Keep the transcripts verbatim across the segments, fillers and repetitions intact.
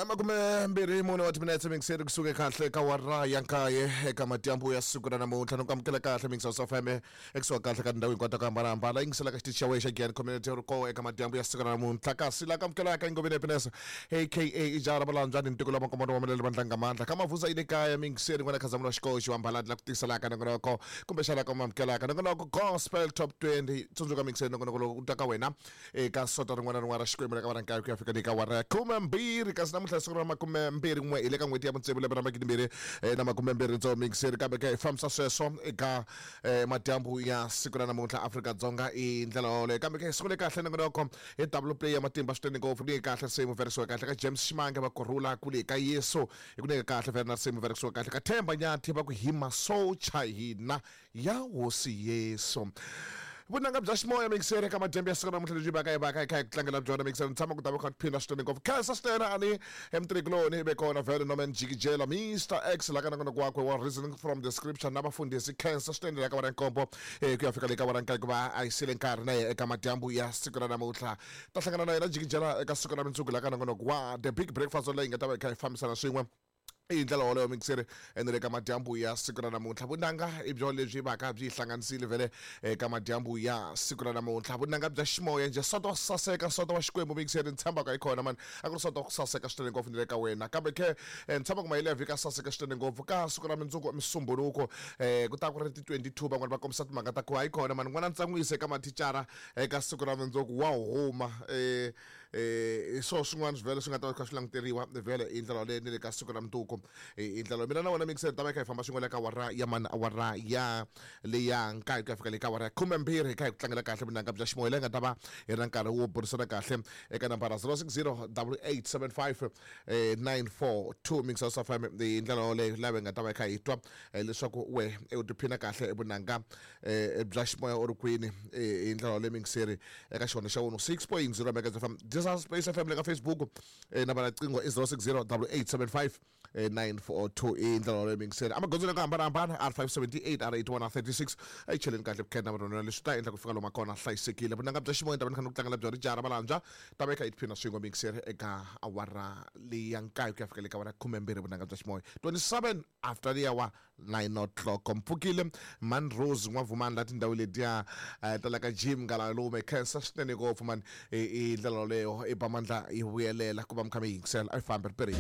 Makume mbirhi mune wa timinetse mingiseri kusuka kahle ka wara ya nkaye eka madyambu ya siku ra namuntlha no ku amukela kahle mingisa F M ekusuka kahle ka tindhawu hinkwato ku hambanahambana yingisela ka xitichi xa wena xa Giyani Community ri koho eka madyambu ya siku ra namuntlha kasi la ku amukelaka Ngoveni Happiness aka Ijara Valandzani ntiko la makombono wa melele vandlanga mandla ka mavuza ile kaya mingiseri n'wana Khazamula Xikoxi wa Mbaladi la ku tiselaka nongonoko kumbexana ka amukelaka nongonoko Gospel Top twenty tsundzuka mingiseri nongonoko lowu ta ka wena eka sonto rin'wana na rin'wana ra Xikwembu la ka wara nkaye ku ya fika le ka wara ya khume mbirhi kasi namuntlha siku ra makume mbirhi n'we hi le ka n'hweti ya vutsevu lembe ra magidi mbirhi na makume mbirhi ntsongo mingiseri kambe ke hi fambisa sweswo eka madyambu ya siku ra namuntlha Afrika-Dzonga i ndlela yoleyo kambe ke siku le kahle nongonoko hi double play ya matimba swinene ngopfu ni kahle nsimu verisiwa kahle ka James Ximange va kurhula kule ka Yesu hi ku nyika kahle vhele na nsimu verisiwa kahle ka Themba Nyathi va ku hi masocha hina ya Hosi Yesu. Vunanga bya ximoya mingiseri eka madyambu ya siku ra namuntlha lebyi vaka hi vaka hi kha hi ku tlangela byona mingiseri ni tshama ku ta va kha tiphina swinene ngopfu khensa swinene ani emtrikuloni ve kona vhele Norman Jikijela Mister X la ka nongonoko wakwe wa Reasoning from the Scripture na vafundhisi khensa swinene la ka wara nkombo ku ya fika le ka wara nkaye ku va a yisile nkarhi na yena eka madyambu ya siku ra namuntlha ta hlangana na yena Jikijela eka siku ra mundzuku la ka nongonoko wa The Big Breakfast leyi nga ta va hi kha hi fambisana swin'we i ndlela yoleyo mingiseri ene le ka madyambu ya siku ra namuntlha vunanga i byo lebyi vaka byi hlanganisile vhele eka madyambu ya siku ra namuntlha vunanga bya ximoya njhe sonto wa saseka sonto wa Xikwembu mingiseri ni tshembaka hi kona mani a ku ri sonto wa ku saseka swinene ngopfu ni le ka wena kambe ke ni tshemba ku mahele ya vhiki a saseka swinene ngopfu ka siku ra mundzuku Musumbhunuko ku ta ku ri ti twenty-two van'wana va kombisa timhaka ta ku hayi kona mani n'wana ntsan'wise eka mathicara eka siku ra mundzuku wa huma eh eh swo swin'wana vhele swi nga ta va kha swi languteriwa vhele hi ndlela yoleyo ni le ka siku ra mundzuku hi ndlela mina na wena mingiseri ta va kha hi famba swin'we le ka wara ya mani awara ya leya nkaye ku ya fika le ka wara ya khume mbirhi hi kha hi ku tlangela kahle vunanga bya ximoya leyi nga ta va hi ri na nkarhi wo burisana kahle eka nambara zero six zero double eight seven five nine four two mingisa F M hi ndlela yoleyo laha hi nga ta va hi kha hi twa leswaku we u tiphina kahle vunanga bya ximoya u ri kwini hi ndlela yoleyo mingiseri eka xona xa one six point zero Megahertz F M Disas Space F M le ka Facebook nambara riqingho i zero six zero double eight seven five nine four two i ndlela yoleyo mingiseri amagondzweni ya ku hambanahambana R five seventy-eight R eighty-one R thirty-six a yi cheleni kahle vukheta na vanhu leswi ta endla ku fika lomu kona hlayisekile vunanga bya ximoya ta va ni kha ni ku tlangela bya rijara Valandzwa ta va yi kha yi tiphina swin'we mingiseri eka awara leyi ya nkaye ku ya fika le ka awara khume mbirhi vunanga bya ximoya twenty-seven after the hour nine o'clock mpfukile Man Rose n'wavumani la tindhawu letiya ta la ka Jim Ngalalume khensa swinene ngopfu mani i ndlela yoleyo i ba mandla yi vuyelela ku va mi kha mi yingisela a yi fambi ri perile.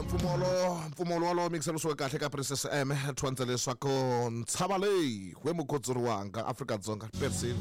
Mpfumolo mpfumolo wolowo mingiselo suka kahle ka Princess M thwandza leswaku ntshava leyi we mukhotsori wanga Afrika-Dzonga perisile.